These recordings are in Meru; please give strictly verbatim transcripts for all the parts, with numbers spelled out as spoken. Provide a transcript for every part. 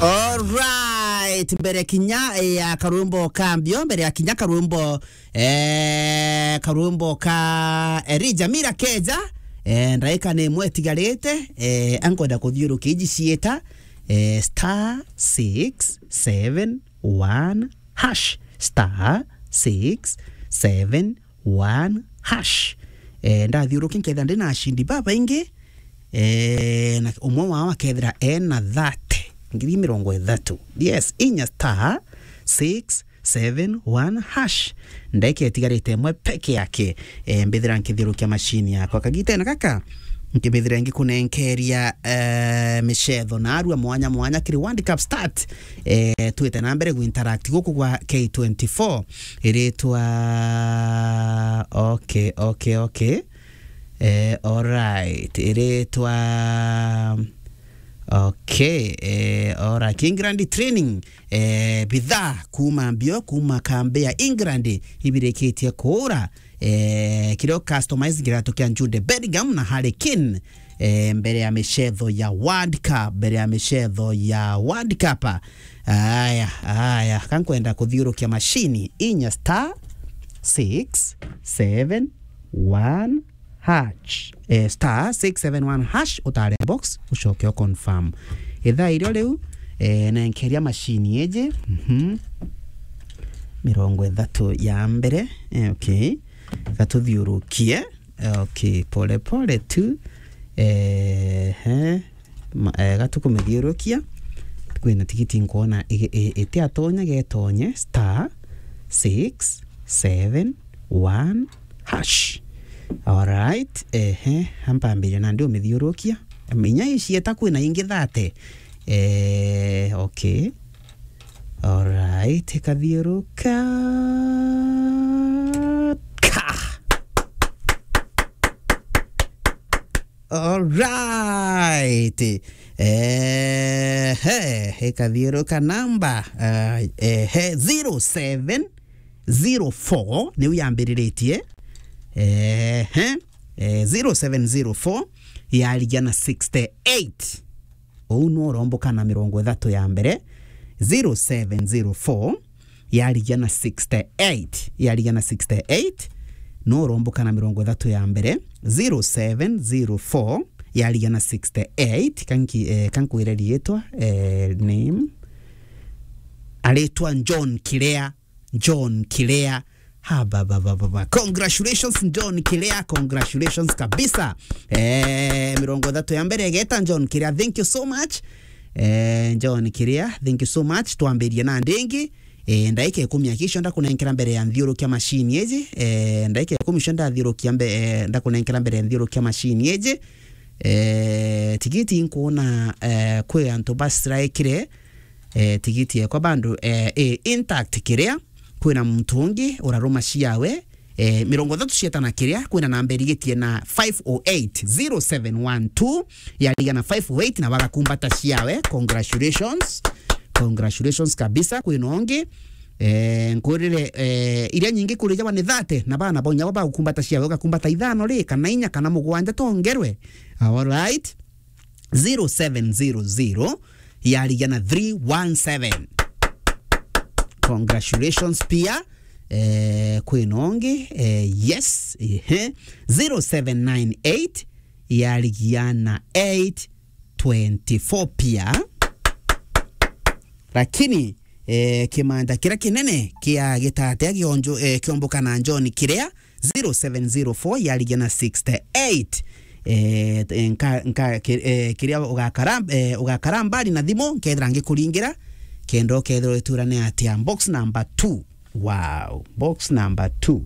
Alright, mbere kinya ya karwimbo kambio, mbere ya kinya karwimbo, eh, karwimbo ka Elijah Mira Keja, eh, ndaika ni imwe itigarite, eh, ankwenda kuthiurukia iji ciita, eh, star six seven one hash, star six seven one hash. Eh, ndathiurukia nkethira ndina ashindi babaingi, eh, na umwe wao akethira ena thirty, ngiri mirongo ithatu. Yes, inya star six seven one hash. Ndaika itigarite imwe peke yake, eh, mbithira nkithiurukia mashini yakwa. Kagitene gaka, nkibithira ngikunenkeria, eh, micetho na arua mwanya mwanya kiri World Cup start. Eh, twite na mbere gu interact guku gwa K twenty-four. Iritwa, okay, okay, okay. Eh, alright. Iritwa, okay, eh, alright. England training, eh, bidhaa kuuma mbio, kuuma kambi ya England, ibirikitie kuura. Eh, kirio customize kiratu kia Jude Bellingham na Harry Kane, eh, mbere ya micetho ya World Cup, mbere ya micetho ya World Cup. Aya, aya, kankwenda kuthiurukia mashini inya star six seven one hash, eh, star six seven one hash, utare box, ucoke u confirm. Ithaa irio riu, eh, nenkeria mashini iji, mhm, mirongo ithatu ya mbere, eh, okay, gatuthiurukie, eh, okay, pole pole tu, eh, he, ma-, eh, gatukumithiurukia, kwina tigiti nkwona i-, i-, itiatonya getonye, star six seven one hash. Alright, ehe, ampambiria nandi umithiurukia. Inya icieta kwina ingi thate. Eh, okay. Alright, ikathiuruka. Ka. Alright. Eh, he, ikathiuruka namba, eh, eh, he, zero seven zero four niu yambiriritie. Eh, he, eh, zero seven zero four yarigia na sixty-eight. Uu nu uromboka na mirongo ithatu ya mbere. Zero seven zero four yarigia na sixty-eight, yarigia na sixty-eight, nu uromboka na mirongo ithatu ya mbere. Zero seven zero four yarigia na sixty-eight. Kanki-, eh, kankwire riitwa, eh, name. Aritwa John Kirea. John Kirea. Ha, ba, ba, ba, ba, ba. Congratulations, John Kirea. Congratulations kabisa. Eh, mirongo ithatu ya mbere igeta, John Kirea. Thank you so much. Eh, John Kirea, thank you so much. Twambirie na ndingi. Eh, ndaika ikumi akicio ndakunenkera mbere ya nthiurukia mashini iji. Eh, ndaika ikumi cio ndathiurukia mbe-, eh, ndakunenkera mbere ya nthiurukia mashini iji. Eh, tigiti nkuona, eh, kwi antu bastrikire. Eh, tigiti yekwa bandu, eh, i intact Kirea. Kwina muntu ungi uraruma ciawe, eh, mirongo ithatu cietana Kirea, kwina namba irigitie na five oh eight, zero seven one two, yarigia na five oh eight na bagakumbata ciawe. Congratulations. Congratulations kabisa. Kwina ungi, eh, nkurire, eh, iria nyingi kuri jaba ni thate, na bana bonya bo bagukumbata ciawe, ugakumbata ithano ri, kana inya, kana mugwanja tongerwe. Alright. Zero seven zero zero yarigia na three one seven. Congratulations pia. Eh, kwina ungi, eh, yes, ehe. Zero seven nine eight yarigia na eight twenty-four pia. Lakini, eh, kimanda kiria kinene kia gitatia kionjo-, eh, kiomboka na John Kirea, zero seven zero four yarigia na sixty-eight. Eh, nka-, nka-, ki-, eh, kiria ugakara, eh, ugakara mbali na thimu, nkethira ngikuringira, kenda ukethirwa iturane atia. Box number two. Wow. Box number two.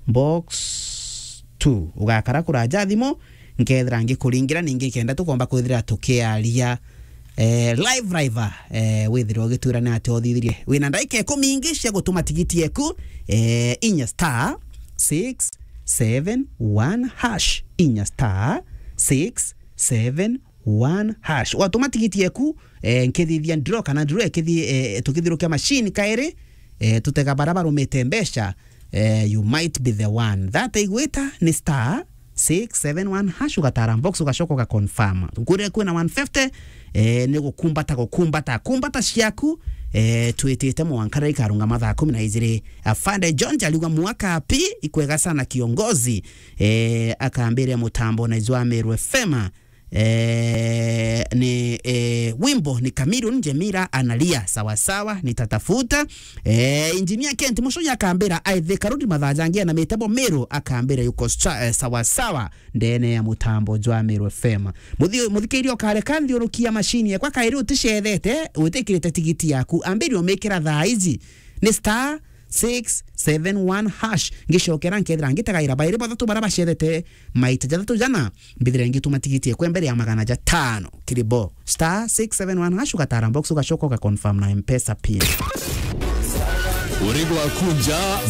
Box two. Ugakara kuraja thimu, nkethira ngikuringira ningi kenda tukomba kwithira tukiaria, eh, live, live, eh, withire ugitwira ni atia uthithirie. Wina ndaika ikumi ingi cia gutuma tigiti yeku, eh, inya star six seven one hash, inya star six seven one hash. Watuma tigiti yeku, eh, nkithithia draw kana draw ikithi-, eh, tukithirukia machine kairi, eh, tutega bara barumite mbeca, eh, you might be the one. That igwita ni star six seven one hash, ugatara box, ugacoka uga confirm. Nkuria kwina one fifty, Eh, ni gukumbata, gukumbata. Kumbata ciaku, eh, twitite mwanka riria ikarunga mathaa kumi na ijiri. Afande John Jaliwa mwaka pi, ikwega sana kiongozi. Eh, akambiria mutambo na ijwa Meru F M. Eh, ni, eh, wimbo ni Chameleone, Jemira analia, sawa sawa, nitatafuta. Eh, Engineer Kent Mucuya akambira, aithika rudi mathaa jangi na mitebo Meru, akambira yuko stra-, eh, sawa sawa, ndene ya mutambo jwa Meru F M. Muthi-, muthikiria ukareka nthiurukia mashini yakwa kairi uticethete, witikirite tigiti yaku, ambiri umikira thaa iji. Ni star six seven one hash. Ngicokera nkethira ngitagaira bairi bathatu bara bacethete maita jathatu jana, mbithire ngituma tigiti ekwe mbere ya magana jatano. Kiribo, star six seven one hash, ugatara box, ugacoka ugaconfirm na M-Pesa pin. Urigwa kunja